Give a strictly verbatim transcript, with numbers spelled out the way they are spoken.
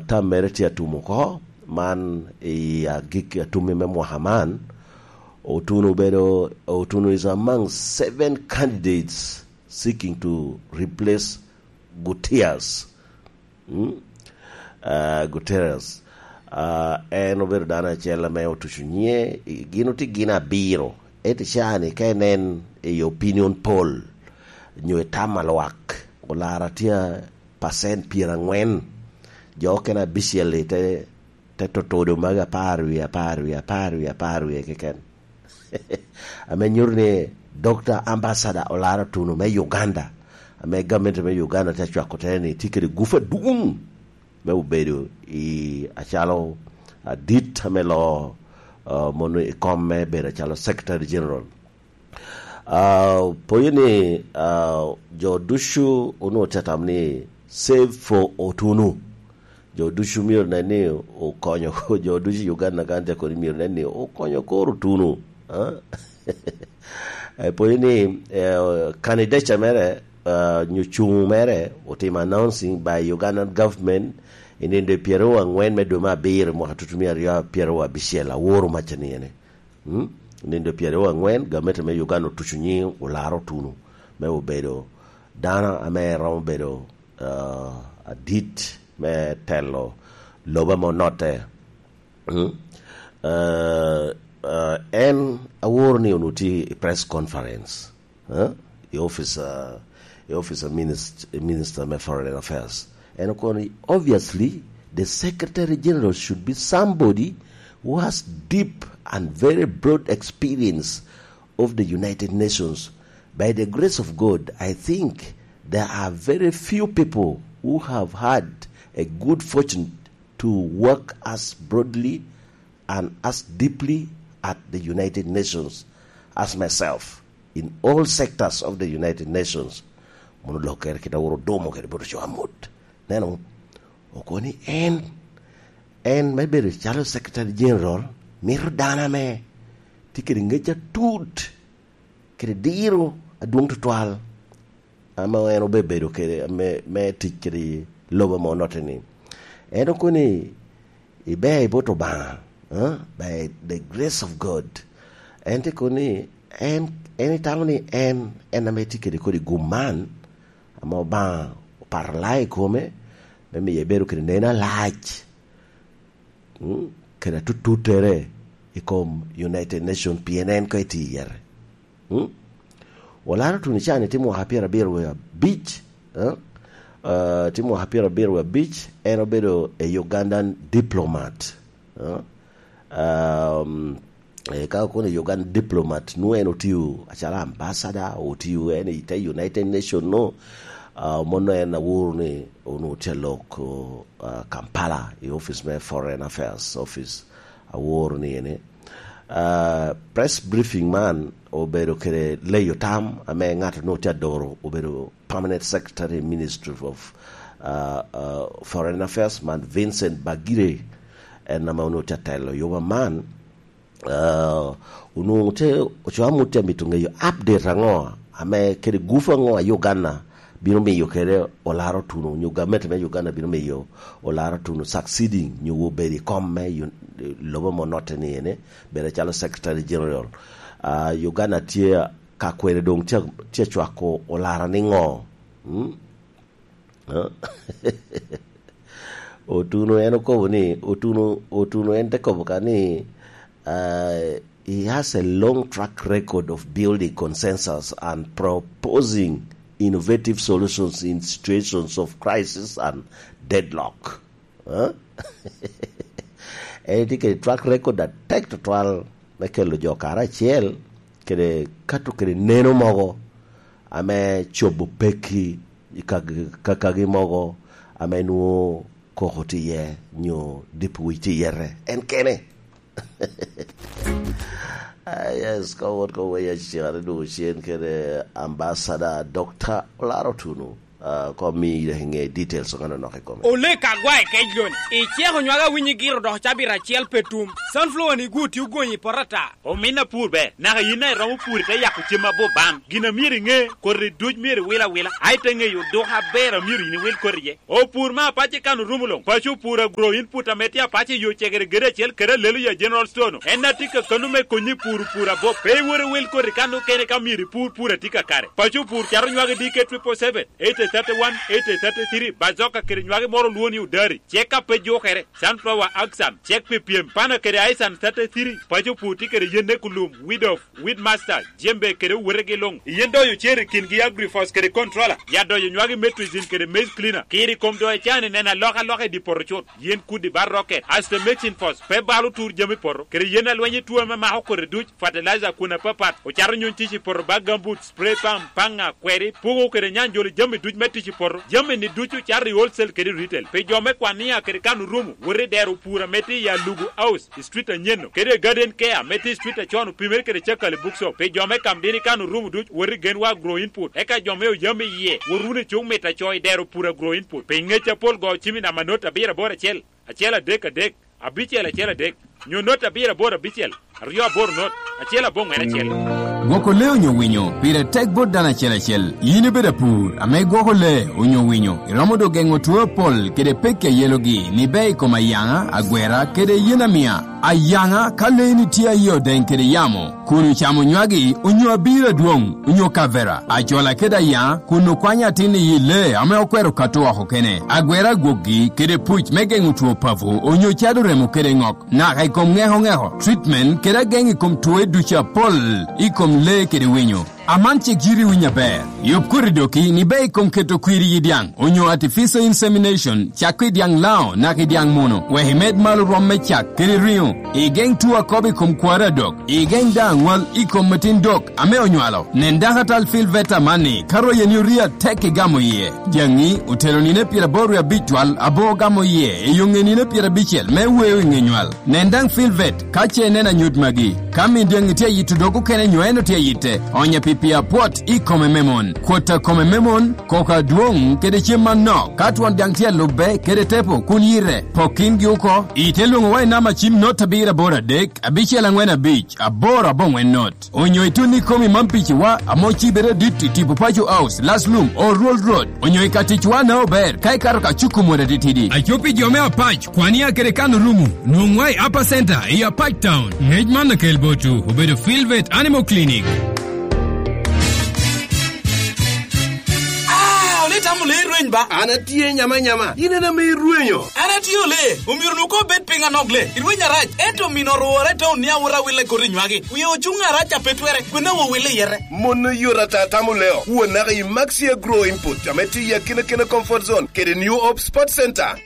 tam mere tye atum oko, man i agik atummi me mwaka man, Otuno obedo, Otuno is among seven candidates seeking to replace Gutiérrez. Mm? Ah, Guterres. Ah, en obedo dano acel ame otuco nyiŋe, i-, gin otye gin abiro. Ento caa-ni ka inen i opinion poll, nyo i tam a lwak, olara tye pacent pyerangwen. Jo okene abicel-li te, te totodo magi apar wie, apar wie, apar wie, apar wie keken. Ame nyuto ni Doctor Ambassador Olara Otuno me Uganda, ame gamente me Uganda tye acwako tere ni tye kede gup adwoŋ me obedo i acalo adit ame loo, ah, mono i kom me bedo acalo Secretary General. Ah, poyo ni, ah, jo ducu onwoŋo tye tam ni save for Otuno. Jo ducu myero nen ni okonyo, jo ducu i Uganda kan te kodi myero nen ni okonyo koro Otuno. Ah? Eh, poyo ni, eh, candidature mere, ah, nyo cuŋ mere otimo announcing by Ugandan government i nindo pyeraryo angwen me dwe me abiro mwaka tutumia aryo pyeraryo abicel, aworo macca ni ene. Mm? Nindo pyeraryo angwen, gamente me Uganda otuco nyiŋ Olara Otuno me obedo dano ame romo bedo, ah, adit me telo lobo ame onotte. Mm? Ah, ah, en aworo ni onwoŋo tye i press conference, eh, i office, ah, i office of minist-, Minister me Foreign Affairs. En okono ni, obviously, the Secretary General should be somebody who has deep and very broad experience of the United Nations. By the grace of God, I think there are very few people who have had a good fortune to work as broadly and as deeply at the United Nations as myself in all sectors of the United Nations. Mono lok kere kit aworo domo kede boto co amut. Neno, okono ni en, en me bedo calo Secretary General, mito dano ame tye kede ngec atut, kede diro adwoŋ tutwal, ame en obebedo kede me, me tic kede lobo ame onotte-ni. En okono ni, "Iber i bot Obaŋa, eh, by the grace of God." En te kono ni, en, en itamo ni en, en ame tye kede kodi gum man, ame Obaŋa opato laa i kome, me miyo ebedo kede neno alac, mm, kede atututtere i kom United Nation, pien en koŋ etye i yete. Mm? Olara Otuno cani tye mwaka pyerabiro wie abic, eh? Eh, tye mwaka pyerabiro wie abic, en obedo a Ugandan diplomat, eh? Um, eh, ka okono Ugandan diplomat, nwoŋo en otio acalo ambassador, otio en i te United Nation no, ah, mono en aworo ni onwoŋo tye alok, ah, Kampala, i office me Foreign Affairs Office, aworo ni ene. Ah, press briefing man obedo kede leyo tam ame ŋat onwoŋo tye adoro, obedo Permanent Secretary, Ministry of, ah, ah, Foreign Affairs, man Vincent Bagire, en ame onwoŋo tye atelo yoba man. Ah, onwoŋo tye, ocoa mut tye amito ŋeyo update aŋo, ame kede gup aŋo a Uganda bino miyo kede Olara Otuno, nyo gamente me Uganda bino miyo Olara Otuno succeeding, nyo obedo i kom me yun-, lobo ame onotte ni ene, bedo calo Secretary General. Ah, Uganda tye ka kwene doŋ tye, tye cwako Olara niŋo? Mm? Ah? Otuno en okobo ni, Otuno, Otuno en te kobo ka ni, ah, he has a long track record of building consensus and proposing innovative solutions in situations of crisis and deadlock. Ah? En tye kede track record atek tutwal me kelo jo karacel, kede kato kede neno mogo ame cobo pekki i kag-, kakagi mogo ame nwoŋo koko tye iye, nyo dipo wic tye iye, en kene. Ah, yes, ka wot ka weya cen, adwogo cen kede Ambassador Doctor Olara Otuno. Ah, kom mi dak iŋe details ŋa nonok i kome. Olek agwa i kec loni. Iceko nywag awinyo igiro dok cabit acel pe tum. Sunflower ni gu tye ogonyo i poto ata. Omin apur ber, naka yin a iromo pur ite yako cem abup ban. Gin a myero iŋe, koti duc myero iwil awila. A ite ŋeyo duk aber a myero yin iwil koti iye. Opur me apac i kan orumo luŋ. Paco opur agro input ame tye apac i yo cegere gede acel kede alelo ya General Store-nu. En a tye ka kano me konyi pur pur abup. Pe iwor iwil koti kan okene ka myero ipur pur a tye kakare. Paco opur cato nywagi D K triple seven, eighty thirty-one, eighty thirty-three, bazoka kede nywagi moro olwongo ni odari. Cek a pe jukere, sunflower axan, cek pi pyem, pana kede aisan thirty-three, paco opur tye kede yen ekulum, weed of, weed master, jembe kede owetegi luŋ. Yen doyo cer i kingi agrifos kede controller, ya doyo nywagi metrizin kede maize cleaner. Kiri kom doyo cani neno alokaloka i di poto cut. Yen kudi ba rocket, asto mixing force, pe balo tur jami poto, kede yen alweny i tuo ame mako kodi duc, fertilizer kun apapat, ocato nyuny tic i poto ba gambut, spray pump, paŋa, kweri, puko kede nyanjolo jami duc me tic i poto. Jami ni ducu cato i wholesale kede retail. Pi jo me kwania kede kan orumo, wot i dero pur ame tye i Alugu House, i street anyen-nu, kede Garden Care ame tye i street acon opimere kede Cakali Bookshop. Pi jo me kam dini kan orumo duc, wot i Genwa Agro Input. Eka jo me oyam i yie, wot wunu i cuk mit aco i dero pur Agro Input. Pi ngec apol go cim i namba not abiro aboro acel, acel adek adek, abicel acel adek, nyo not abiro aboro abicel, aryo aboro not, acel aboŋwen acel. Gwoko lee onyo winyo pire tek bot dano acel acel. Yin ibedo apur ame igwoko lee onyo winyo, iromo dok geŋo two apol kede pekki a yelogi ni ber i kom ayaŋa, agwera, kede yen amia. Ayaŋa, ka leeni tye aye odeny kede yamo, kun ocamo nywagi, onyo abiro adwoŋ, onyo kavera, acola kede ayaŋa, kun okwanyo atin i yi lee ame okwero kato oko kene, agwera agwokgi, kede puc me geŋo two papo, onyo cado remo kede ŋok, naka i kom ŋeko ŋeko, treatment, kede ageŋ i kom twoe ducu apol i kom lee kede winyo. Aman cik yiti winyo aber. Yub koti doki ni ber i kom keto kwir i dyaŋ, onyo artificial insemination, cak i dyaŋ lao, naka i dyaŋ muno, wek imed malo rwom me cak kede riŋo. Igeŋ tuo akobo i kom kwaro adok. Igeŋ daŋ aŋwal i kom atin dok ame onywalo. Nen dakatal Phil Veta amanni, ka royeni orie atek igamo iye. Jaŋi otero nino pyeraboro wie abic twal abo ogamo iye i yoŋe nino pyerabicel me weo i ŋe nywal. Nen daŋ Phil Vet ka ce ineno anyut magi. Ka min dyaŋi tye ayito dog okene nyo en otye ayitte, onye pi pii apwot i kome me mon. Kwot a kome me mon, koko adwoŋ, kede cem manok. Ka twon dyaŋ tye alubbe, kede tepo, kun yite, pok kingi oko. Ite lwoŋowa i namba cim not abiro aboro adek, abicel aŋwen abic, aboro aboŋwen not. Onyo itun i komi man piciwa, ame ocibere adit i tipo Paco House, Last Lum, Old Road, onyo i ka ticwa na ober, ka ikato ka cuku mot atitidi. Aco pi jo me apac, kwania kede kan orumo, nwoŋwa i Upper Center, i Apac Town. Ngec man okel botwu, obedo Filvet Animal Clinic. Ah, ole tamo le rweny ba? An atye nyama nyama, in en ame irwenyo. An atye ole, omyero nu ko bed piny anok le. Irweny arac, ento min orwore taun ni awot awile koti nywagi. Wie ocuŋ arac a pe twere, kwena wo wile yete. Mon oyot ata tamo leo, wo naka i Maxi Agro Input, ame tye i Akina Kina Comfort Zone, kede New Hope Sports Center.